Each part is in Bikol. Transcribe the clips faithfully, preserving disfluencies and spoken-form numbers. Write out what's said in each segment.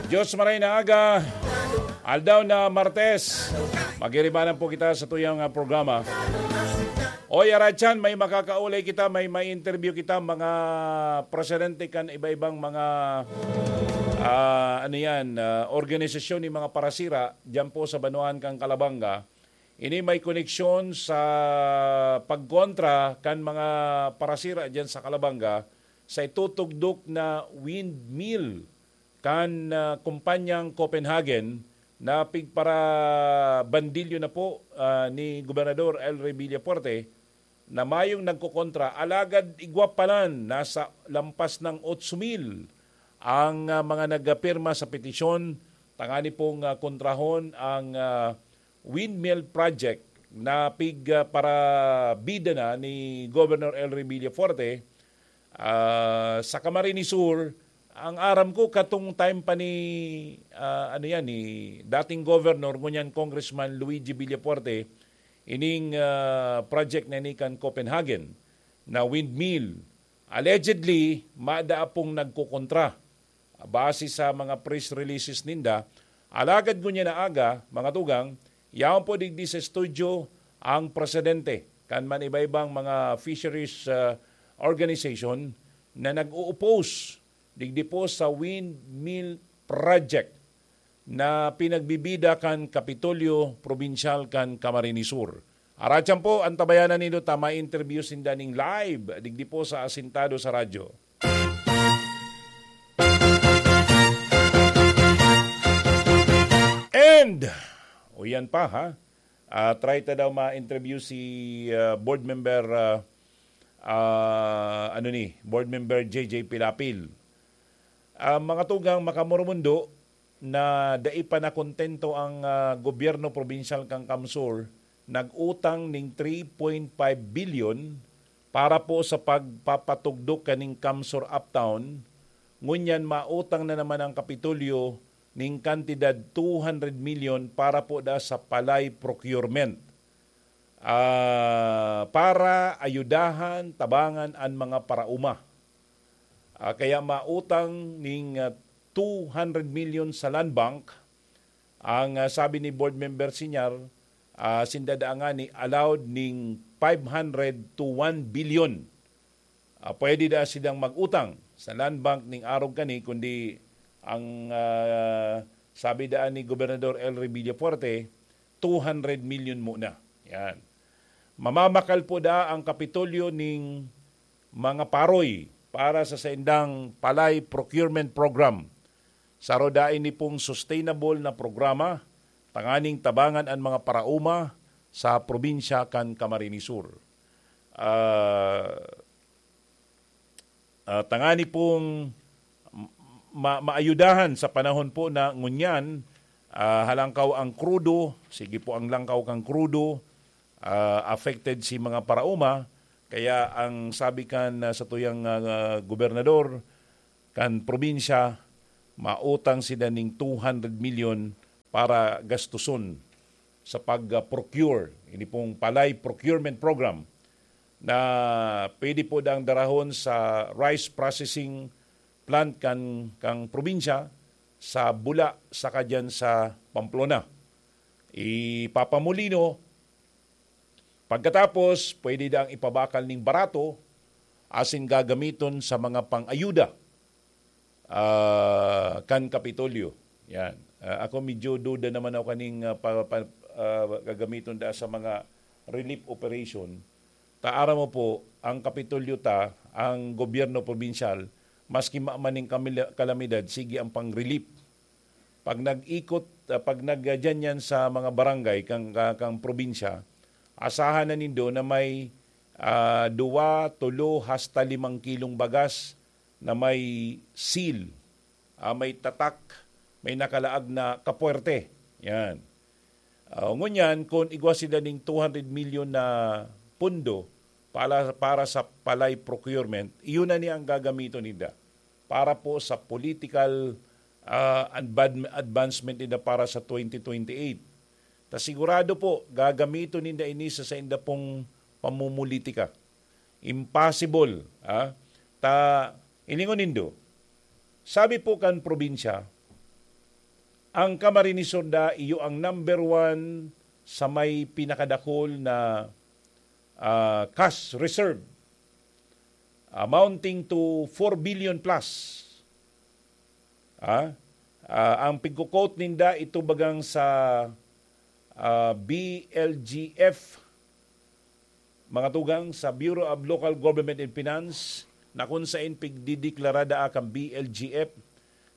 Diyos maray na aga, aldaw na Martes, magiribanan po kita sa tuyang, ah, programa. Oy, Arachan, may makakaulay kita, may ma-interview kita, mga presidente kan iba-ibang mga, ah, ano yan, ah, organisasyon ni mga parasira, dyan po sa banwaan kan Calabanga. Ini may koneksyon sa pagkontra kan mga parasira dyan sa Calabanga sa itutugdok na windmill kan, ah, kumpanyang Copenhagen na pigparabandilyo na po, ah, ni Gobernador El Rey Villafuerte na mayong nagkokontra, alagad igwa palan, nasa lampas ng otso mil ang, ah, mga nagpirma sa petisyon tangani pong, ah, kontrahon ang, ah, windmill project na pig, ah, parabida na ni Governor El Rey Villafuerte, ah, sa Camarines Sur. Ang aram ko, katong time pa ni, ah, ano yan, ni dating Governor, ngunyan Congressman Luigi Villafuerte, ining, ah, project na ini kan Copenhagen na windmill. Allegedly, mada pong nagkokontra. Base sa mga press releases ninda, alagad ngunyan na aga, mga tugang, yaon po digdi sa studio ang presidente kan man iba-ibang mga fisheries, ah, organization na nag-o-oppose digdi po sa windmill project na pinagbibida kan Kapitolyo Probinsyal kan Camarines Sur. Aratyan po, antabayanan nindo ta ma-interview sinda ning live digdi po sa Asintado sa Radyo. And, o yan pa ha, ah, try ta daw ma-interview si, ah, board member, ah, ah, ano ni, board member J J Pilapil. Ah, mga tugang, makamurumundo na dai pa nakontento ang, ah, gobyerno probinsyal kan CamSur, nag-utang ning three point five billion para po sa pagpapatugdok kaning CamSur Uptown. Ngunyan, mautang na naman ang Kapitolyo ning kantidad two hundred million para po da sa palay procurement. Ah, para ayudahan, tabangan an mga paraoma. Ah, kaya mautang ning, ah, two hundred million sa Land Bank. Ang, ah, sabi ni Board Member Sinyar, ah, sinda daa ngani allowed ning five hundred to one billion. Ah, pwede daa silang mag-utang sa Land Bank ning arog kani, kundi ang, ah, sabi daan ni Gobernador El Rey Villafuerte, two hundred million muna. Yan. Mamamakal po daa ang Kapitolyo ning mga paroy para sa saindang palay procurement program. Saro daa ini pong sustainable na programa tanganing tabangan an mga paraoma sa probinsya kan Camarines Sur. Ah, ah, tangani pong ma-, maayudahan sa panahon po na ngunyan, ah, halangkaw ang krudo, sige po ang langkaw kan krudo, ah, affected si mga paraoma. Kaya ang sabi kan, ah, satuyang, ah, gobernador kan probinsya, mautang sila ning two hundred million para gastuson sa pag-procure, ini pong palay procurement program na pwede po dang darahon sa rice processing plant kan, kang probinsya sa Bula saka diyan sa Pamplona. Ipapamulino, pagkatapos pwede dang ipabakal ning barato asin gagamiton sa mga pang-ayuda, ah, kan Kapitolyo. Yan. Ah, ako medyo duda naman ako kaning, ah, pa, pa, ah, gagamiton da sa mga relief operation. Ta aram mo po, ang Kapitolyo ta, ang gobyerno probinsyal, maski ma-, maning kamila-, kalamidad, sige ang pang-relief. Pag nag-ikot, ah, pag nag-, ah, dyan yan sa mga barangay kang, ka-, kang probinsya, asahan na nindo na may, ah, duwa, tulo, hasta limang kilong bagas na may seal, ah, may tatak, may nakalaag na kapuwerte. Yan. Ah, ngunyan, kung igwa sila ning two hundred million na pondo para, para sa palay procurement, iyon na ni ang gagamiton ninda para po sa political, ah, advan-, advancement ninda para sa twenty twenty-eight. Ta sigurado po, gagamiton ninda ini sa sainda pong pamumulitika. Impossible, ah. Ta, ilingon nindo, sabi po kan probinsya, Ang Camarines Sur da iyo ang number one sa may pinakadakul na, ah, cash reserve, amounting to four billion plus. Ah, ah, ang pigko-quote ninda, ito bagang sa, ah, B L G F, mga tugang, sa Bureau of Local Government and Finance, na kun saen pigdideklara daa kan B L G F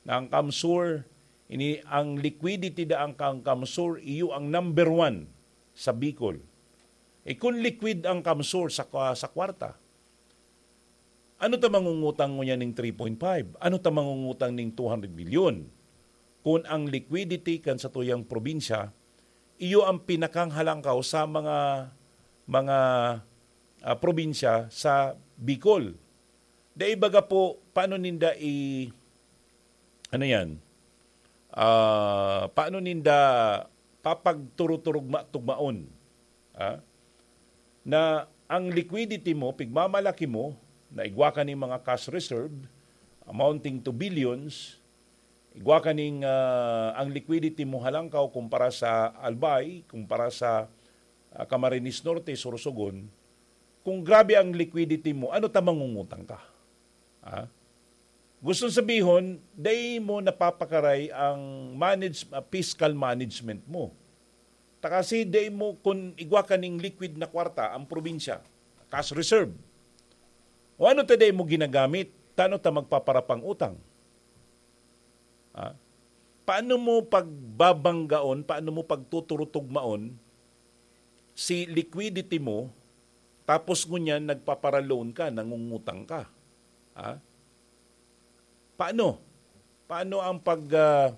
na ang CamSur, ini ang liquidity daa kan CamSur, iyo ang number one sa Bicol. E kun liquid ang CamSur sa kwa-, sa kwarta, ano ta mangungutang ngunyan ning three point five? Ano ta mangungutang ning two hundred milyon? Kun ang liquidity kan satuyang probinsya, iyo ang pinakanghalangkaw sa mga, mga, ah, probinsya sa Bicol. Dai baga po, paano ninda i-, ano yan? Ah, paano ninda papagturuturugma-tugmaon? Ah? Na ang liquidity mo, pigmamalaki mo, na igwa ka ning mga cash reserve amounting to billions, igwa ka ning, ah, ang liquidity mo halangkaw kumpara sa Albay, kumpara sa, ah, Camarines Norte, Sorsogon, kung grabe ang liquidity mo, ano ta mangungutang ka? Ah? Gustong sabihon, dai mo napapakaray ang manage-, ah, fiscal management mo. Ta kasi dai mo, kun igwa ka ning liquid na kwarta ang probinsya, cash reserve. O ano ta dai mo ginagamit, tano ta magpaparapang utang? Ah? Paano mo pagbabanggaon, paano mo pagtuturutugmaon si liquidity mo, tapos ngunyan nagpapara-loan ka, nangungutang ka? Ah? Paano? Paano ang pag, ah,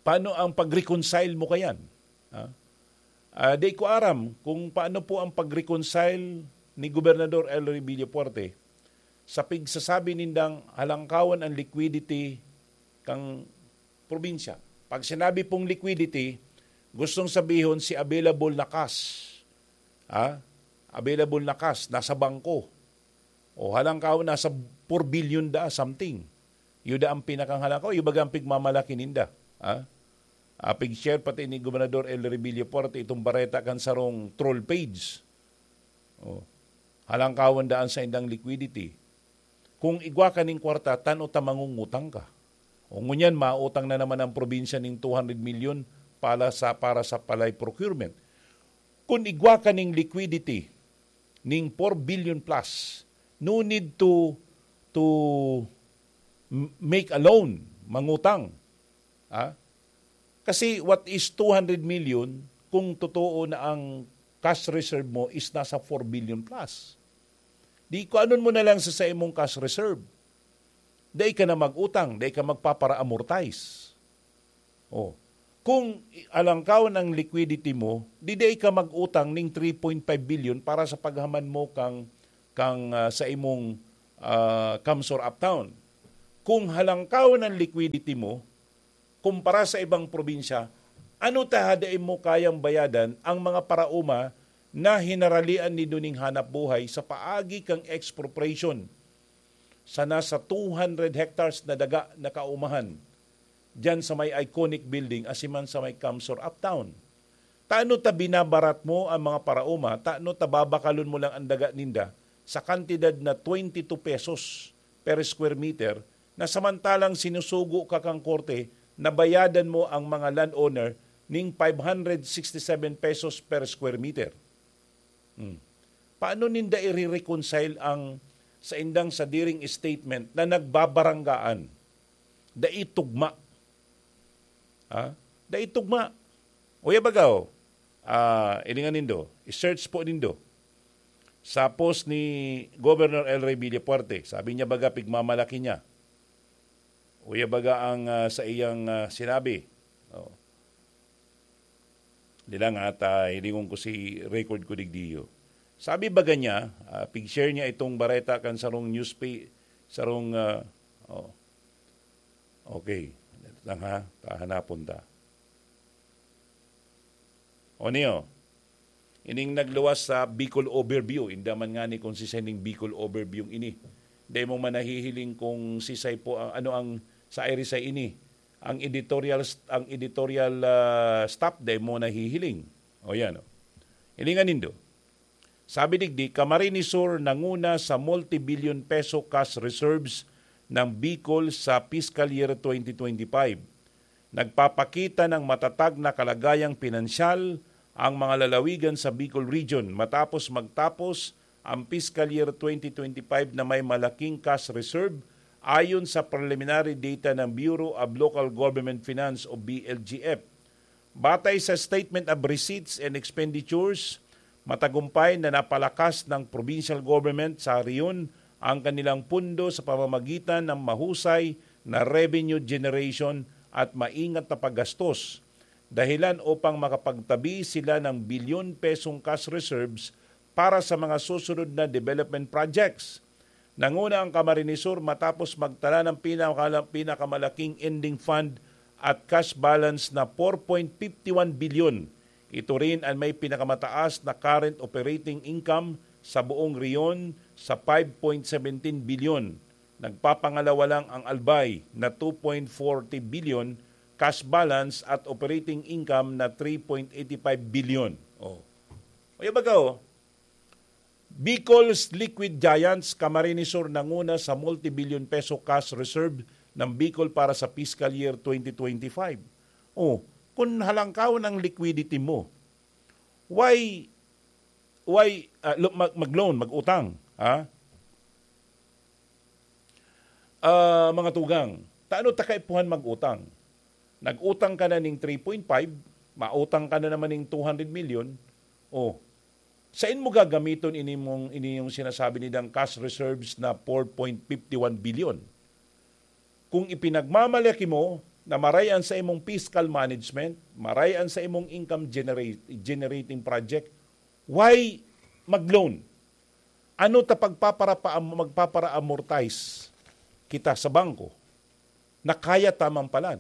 paano ang pag-reconcile mo kayan? Ah? Ah, di ko aram kung paano po ang pag-reconcile ni Gobernador Elroy Villafuerte sa pigsasabi nindang halangkawan ang liquidity kan probinsya. Pag sinabi pong liquidity, gustong sabihon si available na cash. Ah? Available na cash, nasa bangko. O halangkaw, nasa four billion da something. Iyo da ang pinakanghalangkaw, iyo baga ang pigmamalaki ninda. Ha? Ah, pig-share pati ni Gobernador Elroy Villafuerte itong bareta kan sarong troll page. O. Halangkawan daan sa indang liquidity. Kung igwa ka ning kwarta, tano ta mangungutang ka. O ngunyan, mautang na naman ang probinsya ning two hundred milyon para sa, para sa palay procurement. Kung igwa ka ning liquidity, ning four billion plus, no need to, to m-, make a loan, mangutang. Ha? Kasi what is two hundred million kung totoo na ang cash reserve mo is nasa four billion plus? Di ko anon mo na lang sa, sa imong cash reserve. Dai ka na mag-utang, dai ka magpapara-amortize. Oh. Kung i-, alangkaw ang liquidity mo, di dai ka mag-utang ning three point five billion para sa paghaman mo kang, kang, ah, sa imong, ah, CamSur Uptown. Kung halangkaw ang liquidity mo, kumpara sa ibang probinsya, ano ta dai mo kayang bayadan ang mga paraoma na hinaralian nindo ning hanap buhay sa paagi kang expropriation sa nasa two hundred hectares na daga na kaumahan diyan sa may iconic building, asin man sa may CamSur Uptown. Tano ta binabarat mo ang mga paraoma, tano ta babakalon mo lang ang daga ninda sa kantidad na twenty-two pesos per square meter, na samantalang sinusugo ka kang korte na bayadan mo ang mga landowner ning five hundred sixty-seven pesos per square meter. Hmm. Paano ninda ire-reconcile ang saindang sadiring statement na nagbabaranggaan? Dai tugma. Ha? Dai tugma. Uya baga, oh, ah, ilingan nindo, i-search po nindo. Sa post ni Governor Elroy Villafuerte, sabi niya baga pigmamalaki niya. Uya baga ang, ah, sa iyang, ah, sinabi. Oh. Di lang, ha, ta, hilingon ko si record ko digdiyo. Sabi baga niya, ah, pig-share niya itong bareta kan sarong newspa-, sarong, ah, oh. Okay. Lang, ha, pahanapon ta. O niyo, ining nagluwas sa Bicol Overview, inda man ngani kung si sining Bicol Overview ini. Dai mo man nahihiling kung sisay po ang, ano ang sa Iris ay ini. Ang editorial st-, ang editorial, ah, staff, dai mo nahihiling. O yan, oh. Hilingan nindo. Sabi digdi, Camarines Sur nanguna sa multi-billion peso cash reserves ng Bicol sa fiscal year twenty twenty-five. Nagpapakita ng matatag na kalagayang pinansyal ang mga lalawigan sa Bicol Region matapos magtapos ang fiscal year twenty twenty-five na may malaking cash reserve, ayon sa preliminary data ng Bureau of Local Government Finance o B L G F. Batay sa Statement of Receipts and Expenditures, matagumpay na napalakas ng provincial government sa rehiyon ang kanilang pundo sa pamamagitan ng mahusay na revenue generation at maingat na paggastos, dahilan upang makapagtabi sila ng bilyon pesong cash reserves para sa mga susunod na development projects. Nanguna ang Camarines Sur matapos magtala ng pinakala-, pinakamalaking ending fund at cash balance na four point fifty one bilyon. Ito rin ang may pinakamataas na current operating income sa buong rehiyon sa five point seventeen bilyon. Nagpapangalawa lang ang Albay na two point forty bilyon cash balance at operating income na three point eighty five bilyon. Oh. O, yan baga, oh. Bicol's Liquid Giants, Camarines Sur, nanguna sa multi-billion peso cash reserve ng Bicol para sa fiscal year twenty twenty-five. Oh, kung halangkaw ng liquidity mo, why, why, ah, lo-, mag-, mag-loan, mag-utang, ha? Ah, mga tugang, tano ta kaipuhan mag-utang? Nag-utang ka na ning three point five, mautang ka na naman ning two hundred million. Oh, sain mo gagamiton ini mong, ini yung sinasabi nindang cash reserves na four point fifty one billion? Kung ipinagmamalaki mo na maray an sa imong fiscal management, maray an sa imong income generate-, generating project, why mag-loan? Ano ta pagpapara-, magpapara-amortize kita sa bangko na kaya ta man palan?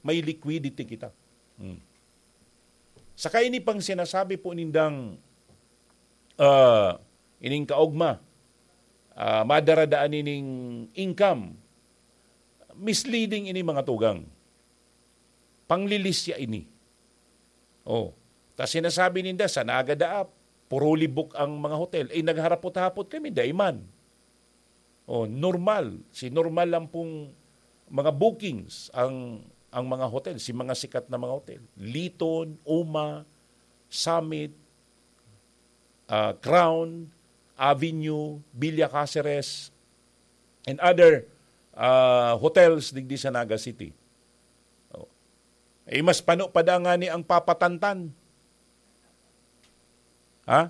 May liquidity kita. Hmm. Saka ini pang sinasabi po nindang, ah, ining kaogma, ah, madara daan ining income. Misleading ini, mga tugang. Panglilisya ini. Oh, ta sinasabi ninda, sa Naga daa, puro libok ang mga hotel. Eh, nagharapot-hapot kami, dai man. Oh, normal. Si normal lang pong mga bookings ang, ang mga hotel, si mga sikat na mga hotel. Liton, Uma, Summit, ah, Crown, Avenue, Villa Caceres, and other, ah, hotels digdi sa Naga City. Oh. Eh, mas pano pa da ngani ang papatantan. Ha?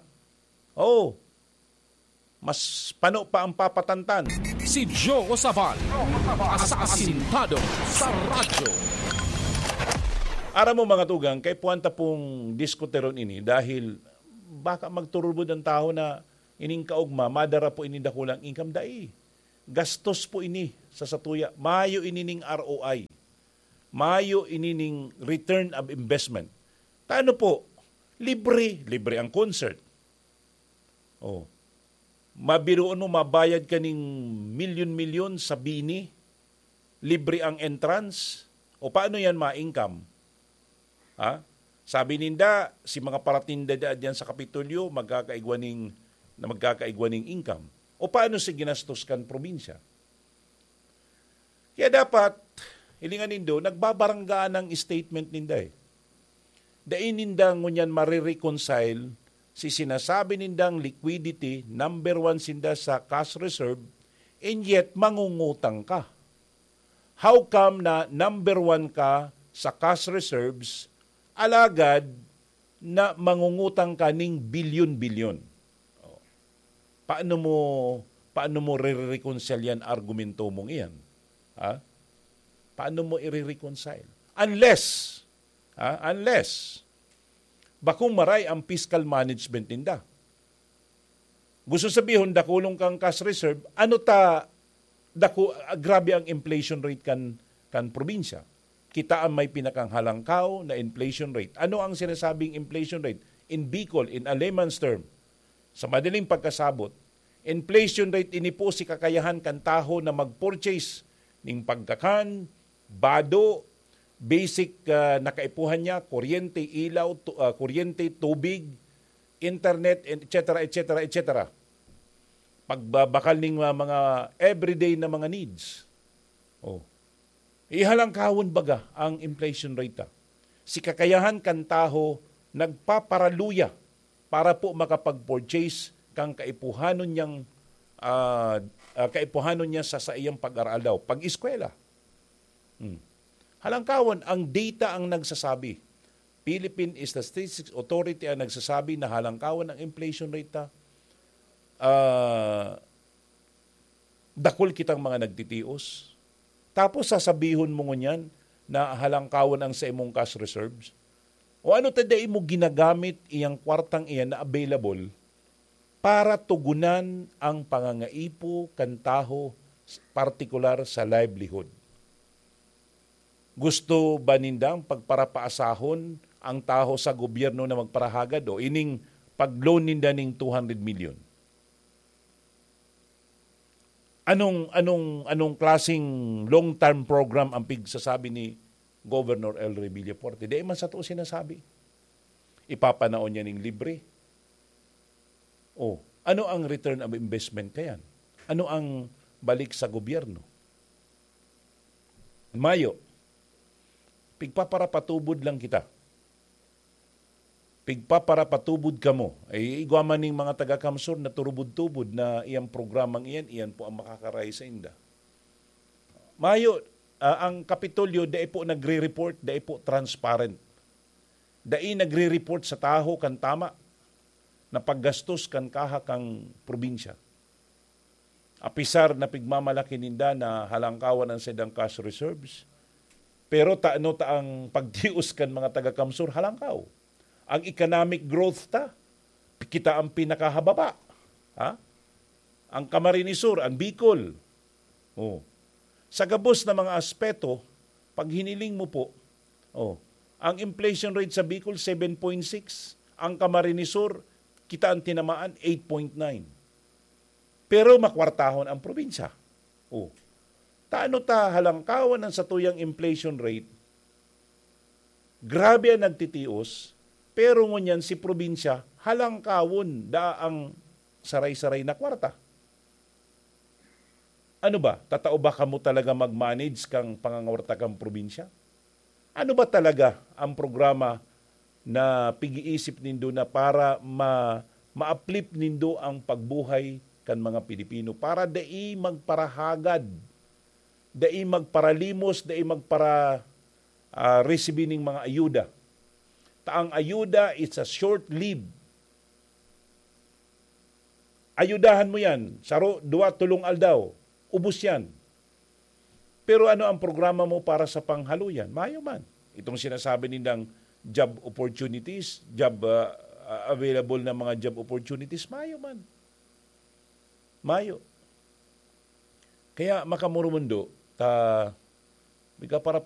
Oo. Mas pano pa ang papatantan. Si Joe Sabal, asasintado sa radyo. Aram mo, mga tugang, kay puwanta pong diskuteron ini dahil baka magturubod ang tawo na ining kaogma, madara po ini dakulang income. Dai. Gastos po ini sa satuya. Mayo ini ning R O I. Mayo ini ning return of investment. Tano po, libre, libre ang concert. Oh. Mabiruon mo, mabayad ka ning milyon-milyon sa bini, libre ang entrance. O paano yan ma-income? Ha? Sabi ninda, si mga paratinda da diyan sa Kapitolyo, magkakaigwa ning, na magkakaigwa ning income. O paano si ginastos kan probinsya? Kaya dapat, hilingan nindo, nagbabaranggaan ang statement ninda eh. Dai ninda ngunyan marireconcile si sinasabi nindang liquidity, number one sinda sa cash reserve, and yet mangungutang ka. How come na number one ka sa cash reserves, alagad na mangungutang ka ning bilyon-bilyon? Oh. Paano mo, paano mo re-reconcile yan argumento mong iyan? Ha? Paano mo i-reconcile? Unless, ha? Unless, bakong maray ang fiscal management ninda. Gusto sabihon, dakulong kang cash reserve, ano ta, daku-, ah, grabe ang inflation rate kan, kan probinsya. Kita ang may pinakanghalangkaw na inflation rate. Ano ang sinasabing inflation rate? In Bicol, in a layman's term, sa madaling pagkasabot, Inflation rate ini po si kakayahan kan tawo na mag-purchase ning pagkakan, bado, basic, ah, na kaipuhan niya, kuryente, ilaw, tu-, ah, kuryente, tubig, internet, and et cetera, et cetera, et cetera. Pagbabakal ning, ah, mga everyday na mga needs. Oh. Ihalangkawon baga ang inflation rate, ah. Si kakayahan kan tawo nagpaparaluya para po makapag-purchase kan kaipuhanon niyang, ah, ah, kaipuhanon niya sa saiyang pag-aral daw, pag-eskwela. Hmm. Halangkawon, ang data ang nagsasabi. Philippine Statistics Authority ang nagsasabi na halangkawon ang inflation rate, ah, ah, dakul kitang mga nagtitios. Tapos sasabihon mo ngunyan na halangkawon ang sa imong cash reserves? O ano ta dai mo ginagamit iyang kwartang iyan na available para tugunan ang pangangaipo kan tawo, partikular sa livelihood? Gusto ba nindang pagparapaasahon ang tawo sa gobyerno na magparahagad o ining pag-loan ninda ning two hundred million? Anong, anong, anong klaseng long-term program ang pigsasabi ni Governor Elroy Villafuerte? Dai man sa totoo sinasabi. Ipapanaon niya ning libre. Oh, ano ang return of investment kayan? Ano ang balik sa gobyerno? Mayo, pigpaparapatubod lang kita. Pigpaparapatubod kamo. Ay, igwa man ning mga taga-Kamsur na turubod-tubod na iyang programang iyan, iyan po ang makakaray sa inda. Mayo, ah, ang Kapitolyo, dai po nagre-report, dai po transparent. Dai nagre-report sa tawo kan tama na paggastos kan kaha kan probinsya. Apisar na pigmamalaki ninda na halangkawan ang saindang cash reserves, pero tano ta ang pagtios kan mga taga-Kamsur halangkaw? Ang economic growth ta, kita ang pinakahababa. Ha? Ang Camarines Sur, ang Bicol. Oh. Sa gabos na mga aspeto, pag hiniling mo po, oh, ang inflation rate sa Bicol, seven point six. Ang Camarines Sur, kita ang tinamaan, eight point nine. Pero makwartahon ang probinsya. Oh. Tano ta halangkawan ang satuyang inflation rate? Grabe ang nagtitios, pero ngunyan si probinsya halangkawon daa ang saray-saray na kwarta. Ano ba? Tatao ba kamo talaga mag-manage kang pangangwarta kang probinsya? Ano ba talaga ang programa na pig-iisip nindo na para ma-, ma-uplift nindo ang pagbuhay kan mga Pilipino para dai magparahagad, dai magparalimos, dai magpara-, ah, resibi ning mga ayuda? Ta ang ayuda, it's a short-lived. Ayudahan mo yan, saro, duwa, tolong aldaw, ubos yan. Pero ano ang programa mo para sa panghaloyan? Mayo man. Itong sinasabi nindang job opportunities, job, ah, ah, available na mga job opportunities, mayo man. Mayo. Kaya, makamurumundo, ta, biga para